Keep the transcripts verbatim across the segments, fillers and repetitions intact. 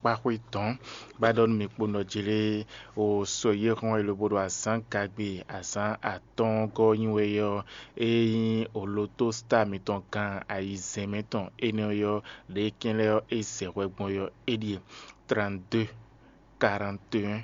akpáxwé dɔ̌n. Bá ɖɔ nú mi kpo nɔ jlé o sɔ yé hɔn e lobo ɖo azǎn gagbe azǎn atɔ́ɔ́ngɔ́ nyi wɛ ɔ́, é nyí olotosita mitɔn gan ayizɛ́n mɛ tɔn énɛ́ ɔ́, ɖě kɛn lɛ́ɛ ɔ́ é zɛ hwɛ gbɔn ɔ́, é ɖíe: trente-deux, quarante et un,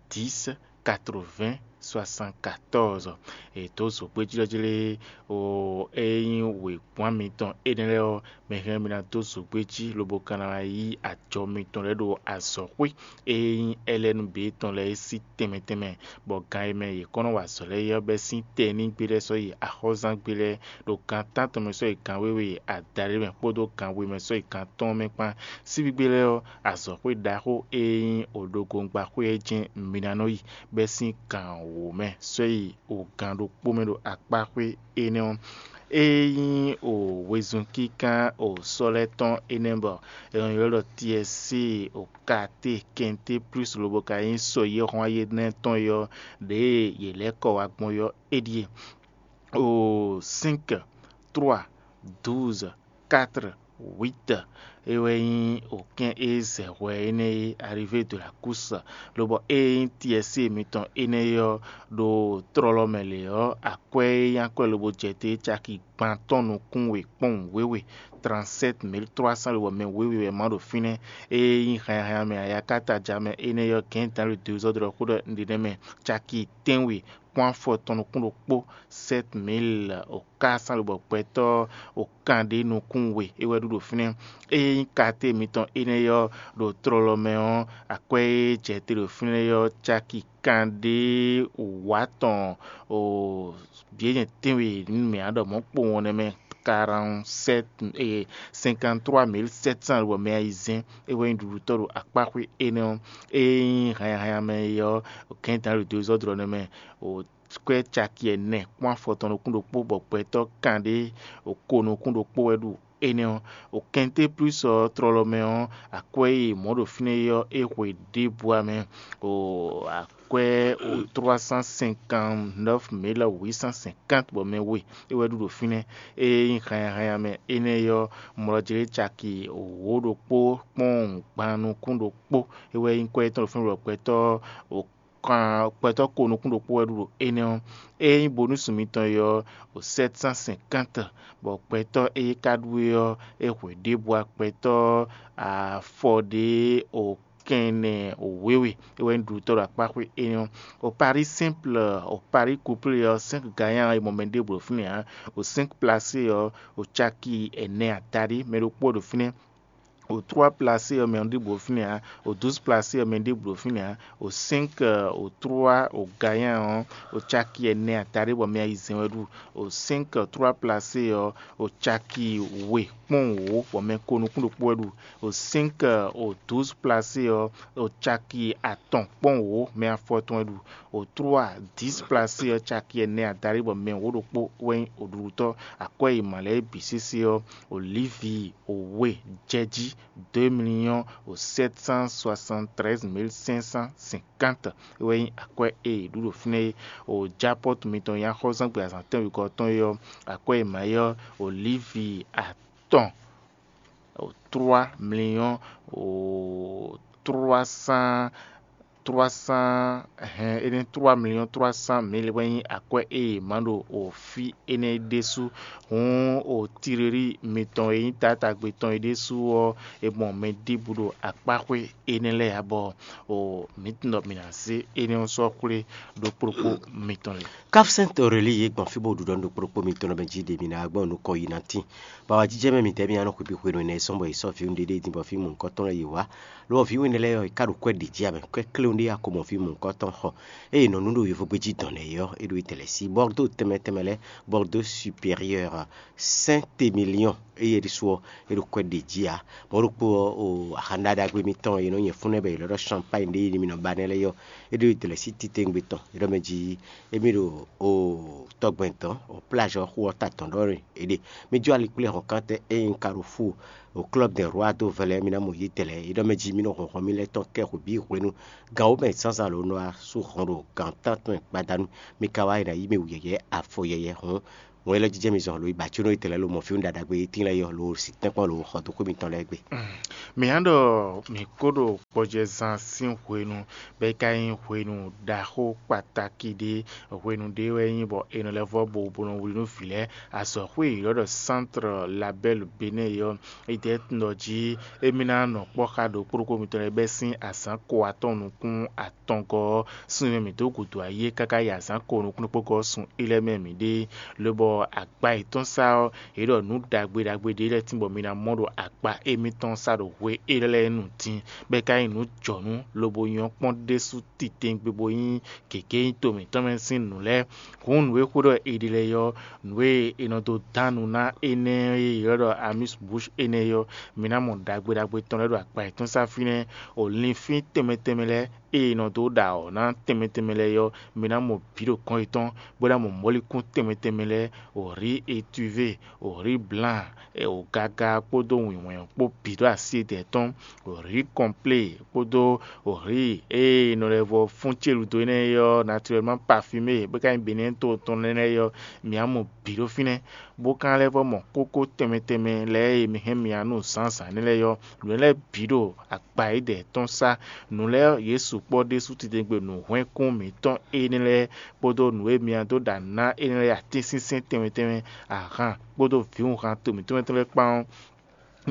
dix, quatre-vingts, soixante-quatorze. È dǒ zǒgbéjlɔ́jlé o é nyí wěgbɔ́n mitɔn énɛ́ lɛ́ɛ ɔ́, mɛ hɛn mi ná dó zǒgbé jí lobo ka ná wá yí ajɔ mitɔn lɛ́ɛ ɖo azɔ̌xwé e nyí Ɛlɛ́nu bǐ tɔn lɛ́ɛ é sí tɛnmɛ tɛnmɛ, bɔ gan e mɛ yě kɔn nɔ wa azɔ̌ lɛ́ɛ é ɔ́ bɛ́ sín tɛnígbe lɛ́ɛ sɔ́ yi axɔ́zángbé lɛ́ɛ, ɖo gan tántɔn mɛ sɔ́ yi gan wěwe adaɖé mɛ kpódó gan we mɛ sɔ́ yi gan atɔ́ɔ́n mɛ kpán. Síbígbe lɛ́ɛ ɔ́, azɔ̌xwé ɖaxó e nyí odogongbaxwé ɔ́ jɛ́n mi ná nɔ yi bɛ́ sín gan wǒ mɛ sɔ́ yi o gan ɖokpó mɛ ɖo akpáxwé énɛ́ ɔ́. É nyí o wezun kínkán o sɔ́ lɛ́ɛ tɔn énɛ́ bɔ è nɔ ylɔ́ ɖɔ Tiɛsée o Katé Kɛnté Plús lobo ka nyí sɔ yɛ́hɔ́n ayénɛ́ tɔn é ɔ́, ɖěe yě lɛ́ kɔ wá gbɔn é ɔ́, é ɖíe: o cinq, trois, douze, quatre, huit. É wɛ nyí okɛ́n e zɛ hwɛ énɛ́ e Arrivée de la Course, lobɔ ée nyí Tiɛsée mitɔn énɛ́ é ɔ́, ɖo tlɔlɔ mɛ lě ɔ́, akwɛ́ e nyí akwɛ́ lobo jɛ te caki gban tɔn nukún we kpɔ́n wěwe, trente-sept mille trois cents lobɔ mɛ wěwe wɛ ma ɖo fínɛ́. Ée nyí hanyahanya mɛ ayakataja mɛ énɛ́ ɔ́, gɛ̌n dan le dozɔ́drɔ́ xó ɖɔ un ɖe nɛ́ mɛ caki tɛ́nwe kpɔ́n afɔ tɔn nukún ɖokpó, sept mille o quatre cents lobɔ gbɛtɔ́ o kanɖé nukún we é wɛ ɖu ɖo fínɛ́. Ée nyí katé mitɔn énɛ́ ɔ́ ɖo tlɔlɔ mɛ ɔ́, akwɛ́ e jɛ te ɖo fínɛ́ ɔ́ caki kanɖé wǒ atɔn o bǐ e nyɛ tɛ́nwe nú mɛ ǎ ɖɔ mɔ̌ kpowun ɔ́ nɛ́ mɛ quarante-sept, cinquante-trois mille sept cents lobɔ mɛ ayizɛ́n é wɛ nyí ɖuɖutɔ́ ɖo akpáxwé énɛ́ ɔ́. Ée nyí hanyahanya mɛ é ɔ́, gɛ̌n dan ɖo dozɔ́drɔ́ nɛ́ mɛ, kwɛ́ caki ɛnɛ kpɔ́n afɔ tɔn nukún ɖokpó bɔ gbɛtɔ́ kanɖé ko nukún ɖokpó wɛ ɖu énɛ́ ɔ́. O kɛnté plus ɔ́ tlɔlɔ mɛ ɔ́, akwɛ́ e mɔ̌ ɖo fínɛ́ é ɔ́, é hwe ɖěbǔ ǎ mɛ. O akwɛ́ o trois cent cinquante-neuf mille huit cent cinquante bɔ mɛ we é wɛ ɖu ɖo fínɛ́. Ée nyí hanyahanya mɛ énɛ́ ɔ́, mlɔjlé caki wǒ ɖokpó kpɔ́n gban nukún ɖokpó é wɛ nyí kwɛ́ tɔn ɖo fínɛ́ bɔ gbɛtɔ́ o kan gbɛtɔ́ ko nukún ɖokpó wɛ ɖu ɖo énɛ́ ɔ́. Ée nyí bonúsu mitɔn é ɔ́, o sept cent cinquante, bɔ gbɛtɔ́ e ka ɖu é ɔ́, é hwe ɖěbǔ agbɛtɔ́ afɔ ɖě o kɛnɛ wěwe é wɛ nyí ɖuɖutɔ́ ɖo akpáxwé énɛ́ ɔ́. O Paris simple, o Paris couple ɔ́, cinq gagnants e mɔ mɛ ɖěbǔ ɖo fínɛ́ ǎ. O cinq placé ɔ́, o caki ɛnɛ adaɖé mɛ ɖokpó ɖo fínɛ́. O trois placé ɔ́, mɛ ɔ́ ɖěbǔ ɖo fínɛ́ ǎ. O douze placé ɔ́, mɛ ɖěbǔ ɖo fínɛ́ ǎ. O cinq, o trois, o gagnant ɔ́, o caki ɛnɛ adaɖé bɔ mɛ ayizɛ́n wɛ ɖu. O cinq, trois placé ɔ́, o caki we kpɔ́n wǒ bɔ mɛ ko nukún ɖokpó wɛ ɖu. O cinq, o douze placé ɔ́, o caki atɔn kpɔ́n wǒ mɛ afɔtɔn wɛ ɖu. O trois, dix placé ɔ́, caki ɛnɛ adaɖé bɔ mɛ wǒ ɖokpó wɛ nyí oɖuɖutɔ́. Akwɛ́ e mǎ lɛ́ɛ bǐ sésé ɔ́, o Livi o we jɛ jí deux millions o sept cent soixante-treize mille cinq cent cinquante wɛ nyí akwɛ́ e è ɖu ɖo fínɛ́ é. O Japɔ́tu mitɔn nyí axɔ́zángbé azǎn tɛ́nwegɔ́ tɔn é ɔ́, akwɛ́ e mǎ é ɔ́, o Livi atɔn o trois millions o trois cent trois cent hɛn énɛ́ trois millions trois cent mille wɛ nyí akwɛ́ e è mǎ ɖo o fí énɛ́ ɖésú. Hǔn o Tilelí mitɔn e nyí taátagbe tɔn é ɖésú ɔ́, è mɔ mɛ ɖěbǔ ɖo akpáxwé énɛ́ lɛ́ɛ ǎ bɔ o mǐ tunwun ɖɔ mǐ ná zé énɛ́ ɔ́ sɔ́ xwlé ɖokpó ɖokpó mitɔn lě. Káfsɛ́n Torelí yě gbɔn fí bó ɖu ɖɔ nú ɖokpó ɖokpó mitɔn lɔ mɛ jí ɖě mǐ ná gbɔn nukɔn yi ná tín. Bɔ awǎjijɛ mɛ mǐtɛɛ mì ná nɔ xwebǐ hwenu énɛ́ sɔ́ bɔ è sɔ́ vǐ ɖé ɖé din bɔ fí mɔ̌hunkɔtɔn lɛ́ɛ yě wá. Lɔ ɔ́, vǐ we énɛ́ lɛ́ɛ ɔ́, è ká ɖo kwɛ́ ɖě jí ǎ mɛ, kwɛ́ kléwún ɖé wá ko mɔ fí mɔ̌hunkɔtɔn xɔ. Ée è nɔ nú ɖo yovógbé jí dɔn lɛ́ɛ é ɔ́, é ɖo itɛlɛ sí Bordeaux tɛnmɛ tɛnmɛ lɛ́ɛ, Bordeaux supérieur, Saint-Émilion, éyɛ́ ɖésú ɔ́, é ɖo kwɛ́ ɖě jí ǎ. Mɔ̌ ɖokpó ɔ́, o axaná ɖagbe mitɔn e nɔ nyɛ fún nɛ́ bɔ è lɛ́ ɖɔ Champagne ɖé é mì nɔ ba nɛ́ lɛ́ɛ é ɔ́, é ɖo itɛlɛ sí titewungbe tɔn, é ɖɔ mɛ jí émí ɖo o tɔgbɛn dɔn, o plage ɔ́ xu ɔ́ ta dɔn ɖɔ é ɖe. Mí jó ali kplé hɔnkántɛ ényí un ka ɖo fú o Club des Rois dó vɛlɛ mì ná mɔ yě dɛlɛ. É ɖɔ mɛ jí mì nɔ hɔnhɔn mì lɛ́ɛ tɔn kɛ xwe bǐ hwenu gan wǒ mɛ zǎnzǎn lǒ nɔ wá sú hɔn ɖo gan tántɔn gbadanu. Mi ka wá yi ná yí mì wǔ yɛyɛ́ afɔ yɛyɛ́ hɔn Wɛn élɔ́ jijɛ mi zɔn lo yi ba có nɔ yi tɛlɛ lo mɔ fí ɖaɖagbe e tín lɛ́ɛ yɔ lo si tɛ́nkpɔ́n lo xɔ dó xwé mitɔn lɛ́ɛ gbe. Mǐ á ɖɔ mǐ kó ɖo gbɔjɛzán sín hwenu, bɔ é ka nyí hwenu ɖaxó kpatáki ɖé. Hwenu ɖé wɛ nyí bɔ è nɔ lɛ́ vɔ́ bo bo nɔ wlí nú vǐ lɛ́ɛ. Azɔ̌xwé e è ylɔ́ ɖɔ Centre Label Bénin ɔ́, é ɖɛ́ tunwun ɖɔ jí émí ná nɔ kpɔ́ xá ɖokpó ɖokpó mitɔn lɛ́ɛ bɛ́ sín azǎn ko atɔn nukún atɔngɔ́ ɔ́, sun e mɛ mǐ dó gǔdo ayé káká yi azǎn ko nukúnnú kpókpó ɔ́ sun é lɛ́ɛ mɛ mǐ ɖe, lobɔ agba yětɔn sá ɔ́, yě ɖɔ nǔ ɖagbe ɖagbe ɖé lɛ́ɛ tín bɔ mi ná mɔ ɖo agba émítɔn sá ɖo hwe élɔ́ lɛ́ɛ nu din, bɔ é ka nyí nǔ jɔ̌nú lobo nyɔ́ kpɔ́n ɖésú titewungbe bó nyí gěgé nyí to mǐtɔn mɛ sín nǔ lɛ́ɛ. Hǔn nǔ e xwé ɖɔ è ɖe lɛ́ɛ ɔ́, nǔ e è nɔ dó dán nu ná énɛ́ e è ylɔ́ ɖɔ amis bouche énɛ́ ɔ́, mi ná mɔ ɖagbe ɖagbe tɔn lɛ́ɛ ɖo akpa yětɔn sá fínɛ́, o linfín tɛnmɛ tɛnmɛ lɛ́ɛ e è nɔ dó ɖa awɔ̌ ná tɛnmɛ tɛnmɛ lɛ́ɛ ɔ́, mi ná mɔ bǐ ɖo kɔn yětɔn, bó ná mɔ mɔ̌likún tɛnmɛ tɛnmɛ lɛ́ɛ, o riz étuvé, o riz blan, o gaga kpódó wǐnwɛ́n kpó bǐ ɖo así etɛ́ tɔn, o riz kɔnplé kpódó o riz e è nɔ lɛ́ vɔ fún célu dó énɛ́ ɔ́, naturellement parfumé, bó ka nyí Benin to tɔn énɛ́ ɔ́, mi ná mɔ bǐ ɖo fínɛ́, bó ka lɛ́ vɔ mɔ kókó tɛnmɛ tɛnmɛ lɛ́ɛ e mi hɛn mi ná nu zǎnzǎn énɛ́ lɛ́ɛ ɔ́, nǔ énɛ́ lɛ́ɛ bǐ ɖo akpa e dɛ tɔn sá. Nǔ lɛ́ɛ yě sukpɔ́ ɖésú titewungbe nǔhwɛ́nkún mǐtɔn énɛ́ lɛ́ɛ kpódó nǔ e mi ná dó ɖa nǔ ná énɛ́ lɛ́ɛ atínsínsɛ́n tɛnmɛ tɛnmɛ, ahan kpódó vǐwunhan to mǐtɔn mɛ tɔn lɛ́ɛ kpán ɔ́,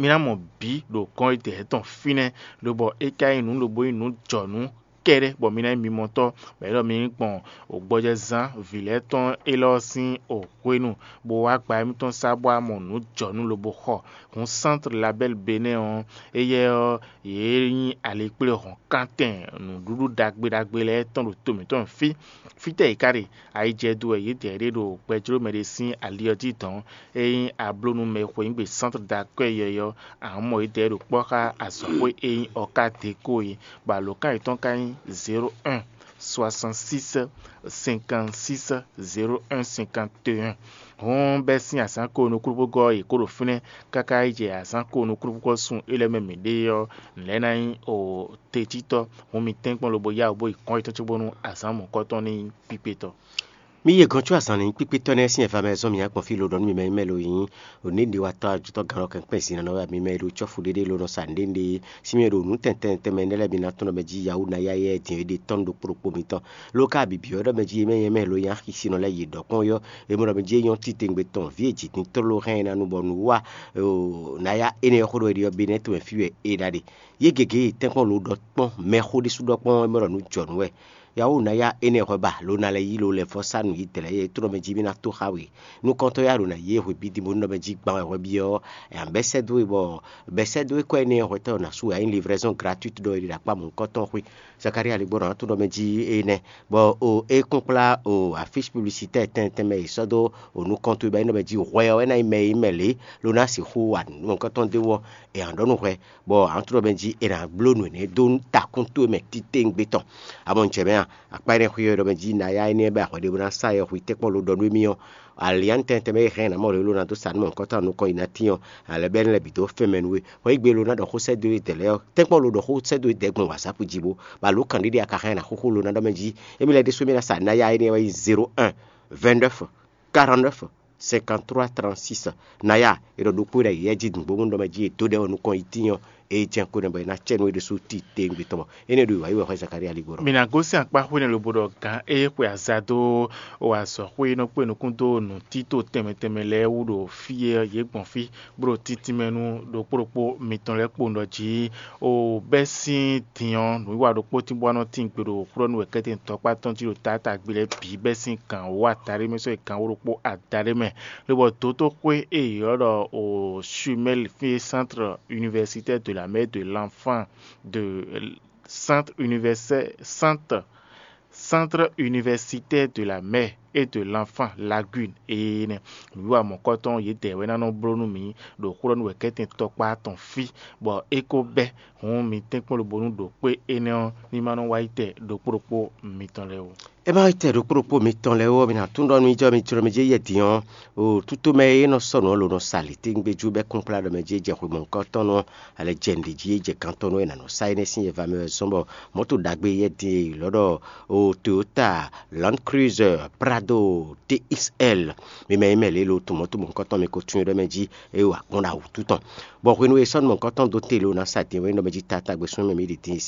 mi ná mɔ bǐ ɖo gɔ́n e dɛ tɔn fínɛ́, lobɔ é ka nyí nǔ lobo nyí nǔ jɔ̌nú kɛ́ɖɛ́ bɔ mi ná nyí mimɔtɔ́, bɔ é ɖɔ mi nyí gbɔn gbɔjɛzán vǐ lɛ́ɛ tɔn élɔ́ sín hwenu, bó wá gba émítɔn sá bó wá mɔ nǔ jɔ̌nú lobo xɔ. Hǔn Centre Label Bénin ɔ́, éyɛ́ ɔ́, yě nyí alikpléhɔ̌nkántɛn nǔɖuɖu ɖagbe ɖagbe lɛ́ɛ tɔn ɖo to mǐtɔn fí. Fítɛ́ yě ká ɖe? Ayijɛdo wɛ yědɛɛ ɖe ɖo gbɛjló mɛ ɖé sín ali ɔ́ jí dɔ̌n. Ényí a bló nú mɛ e xweyǐgbe Centre d'accueil ɔ́, a nǎ mɔ yědɛɛ ɖo kpɔ́ xá azɔ̌xwé e nyí Ɔká Deko é, bɔ alǒkan yětɔn ka nyí zéro un soixante-six cinquante-six zéro un cinquante et un. Hǔn bɛ́ sín azǎn ko nukúnnú-xwegɔ́ ɔ́, yě kó ɖo fínɛ́ káká yi jɛ azǎn ko nukúnnú-xwegɔ́ sun é lɛ́ɛ mɛ mǐ ɖe ɔ́, nǔ lɛ́ɛ ná nyí o tejítɔ́. Hǔn mi tɛ́nkpɔ́n lobo yá wǔ bó yi kɔn yětɔn cóbónú azǎn mɔ̌kɔtɔn ní nyí kpíkpétɔ́. Mì e gɔ̌n có azǎn ní kpíkpétɔ́ nɛ́ sín ɛva mɛ zɔ́n mì nyi akpɔ́n fí lo ɖɔ nú mi mɛ nyí mɛ lo nyí, ɖo ní ɖi wa tɔ́ ajotɔ́ gannɔ kɛnkpɛ́n zǐn nɔ wɛ mi mɛ e ɖo cɔ́fu ɖéɖé lo nɔ sa nǔɖé nǔɖé sín mì e ɖo nǔ tɛntɛn tɛnmɛ nɛ́ lɛ́ɛ mi ná tɔ́n ɖɔ mɛ jí yawú ná yá yɛ din e ɖe tɔ́ nú ɖokpó ɖokpó mitɔn. Lo ka bǐbí ɔ́ ɖɔ mɛ jí mɛ nyɛ mɛ lo nyí axisínɔ lɛ́ɛ yi ɖɔ kpɔ́n yɔ́, e mɔ ɖɔ mɛ jí é nyɔ́ titewungbe tɔn vǐ e jǐ din tlóló hɛn ɛ ná nu bɔ nǔ wa ná yá énɛ́ ɔ́ xó ɖɔ é ɖi ɔ́ bé nɛ́ tɔn mɛ fí wɛ é ɖa ɖe. Yě gěgé e tɛ́nkpɔ́n lo ɖɔ kpɔ́n mɛxó ɖésú ɖɔ kpɔ́n é mɔ ɖɔ nǔ jɔ nǔ wɛ. Yawú ná yá énɛ́ hwɛ ba lo ná lɛ́ yí lo lɛ́ vɔ́ sá nǔ yi dɛ̌ lɛ́ɛ é tlɔ́ mɛ jí mì ná tó xá we. Nukɔntɔ́ yá ɖo ná yí e hwe bídí bónú ɖɔ mɛ jí gban wɛ hwɛ byɔ́ ɛ ǎ bɛ́ sɛ́ dó we bɔ bɛ́ sɛ́ dó we kɔ énɛ́ hwɛtɔ́ ná sú wɛ ǎ nyí livraison gratuite ɖɔ é ɖi ɖo akpá mɔ̌hunkɔtɔn xwé. Zakalía lɛ́ gbɔ ɖɔ ná tó ɖɔ mɛ jí énɛ́ bɔ o é kún kplá o afísi publicitaire tɛntɛn mɛ è sɔ́ dó o nukɔntɔ́ ba nyí ɖɔ mɛ jí hwɛ ɔ́ é ná nyí mɛ e nyí mɛ lě lo ná sixú wa mɔ̌hunkɔtɔn d'é wú ɔ́, è ǎ ɖɔ nú hwɛ bɔ ǎ tlɔ mɛ jí è nǎ bló nǔ énɛ́ dó takún towe mɛ titewungbe tɔn. Amɔ un jɛ mɛ a, akpá énɛ́ xwé ɔ́ ɖɔ mɛ jí ná yá énɛ́ bɔ hwɛɖěbǔ ná sá yɛ hwi tɛ́nkpɔ́n lo ɖɔ nú émí ɔ́, alián tɛntɛn mɛ e hɛn nǎ mɔ lo ná dó sa nú mɔ̌hunkɔtɔn nukɔn yi ná tín ɔ́, alɛ bɛ́ énɛ́ lɛ́ɛ bǐ dó fɛn mɛ nú we. Hwɛ yí gbe lo ná ɖɔ xó sɛ́ dó we dɛ̌ lɛ́ɛ ɔ́, tɛ́nkpɔ́n lo ɖɔ xó sɛ́ dó we dɛ̌ gbɔn wǎzápu jí bó, bɔ alǒ kan ɖé ɖé a ka hɛn ná xóxó lo ná ɖɔ mɛ jí, émí lɛ́ɛ ɖésú émí ná sa ná yá énɛ́ wɛ nyí zéro un vingt-neuf quarante-neuf cinquante-trois trente-six. Naya e ɖɔ ɖokpó ɖe yɛ jí dùngbó mú ɖɔ mɛ jí e dó ɖɛ ɔ́ nukɔn yi tínyɔ e jɛn ko nɛ bɔ e ná cɛ nú e ɖésú ti tewungbe tɔn bɔ énɛ́ ɖo wǎyi wɛ xwɛ Zakaria ligbó ɖɔ. Mǐ ná gosín akpá xwé nɛ́ lobo ɖɔ gǎn e xwe aza dó o azɔ̌xwé e nɔ kpé nukún dó nǔtító tɛnmɛ tɛnmɛ lɛ́ɛ wú ɖo fí e yě gbɔn fí bó ɖo títínmɛ nú ɖokpó ɖokpó mitɔn lɛ́ɛ kpowun ɖɔ jí o bɛ́ sín din ɔ́, nǔwiwa ɖokpó tínbɔ́ ɔ́ nɔ tín gbe ɖo xwlɔ́nú wɛ kɛ́tɛn tɔkpá tɔn jí ɖo taátagbe lɛ́ɛ bǐ bɛ́ sín gǎn wǒ adaɖé mɛ sɔ́ yi gǎn wǒ ɖokpó adaɖé mɛ. Lobɔ dǒtó xwé e yě ylɔ́ ɖɔ o Schumel fí e Centre Universitaire de la Mère de l'Enfant de Centre Universitaire Centre Centre Universitaire de la Mère et de l'Enfant Lagune ée nɛ́. Nǔwiwa mɔ̌kɔtɔn yědɛɛ wɛ ná nɔ bló nú mǐ ɖo xwlɔ́nú wɛ kɛ́tɛn tɔkpá tɔn fí, bɔ é ko bɛ́ hǔn mi tɛ́nkpɔ́n lobo nú ɖo kpé énɛ́ ɔ́ ní ma nɔ wá yi tɛ ɖokpó ɖokpó mitɔn lɛ́ɛ ó. É má yi tɛ ɖokpó ɖokpó mitɔn lɛ́ɛ ɔ́, mi ná tunwun ɖɔ nú jɔ mi jlɔ́ mɛ jí yɛ din ɔ́, o tútomɛ e nɔ sɔ́ nǔ ɔ́ lǒ nɔ sa lǐtín gbé jú bɛ́ kplá ɖɔ mɛ jí é jɛ xwe mɔ̌hunkɔtɔn nú ɔ́, alɛ jɛ nǔɖé jí é jɛ gantɔ́ nú é nǎ nɔ sa énɛ́ sín yɛva mɛ wɛ zɔ́n bɔ mɔ̌to ɖagbe yɛ din e è ylɔ́ ɖɔ o Toyota Land Cruiser Prado T X L, mi mɛ nyí mɛ lě lo tun mɔ̌to mɔ̌hunkɔtɔn mi ko tunwun ɖɔ mɛ jí é wa kpɔ́n ɖo awǔtu tɔn. Bɔ hwenu e sɔ́ nú mɔ̌hunkɔtɔn dó te lo ná sa din wɛ é nɔ mɛ jí tátágbe súnnu mɛ mǐ ɖi din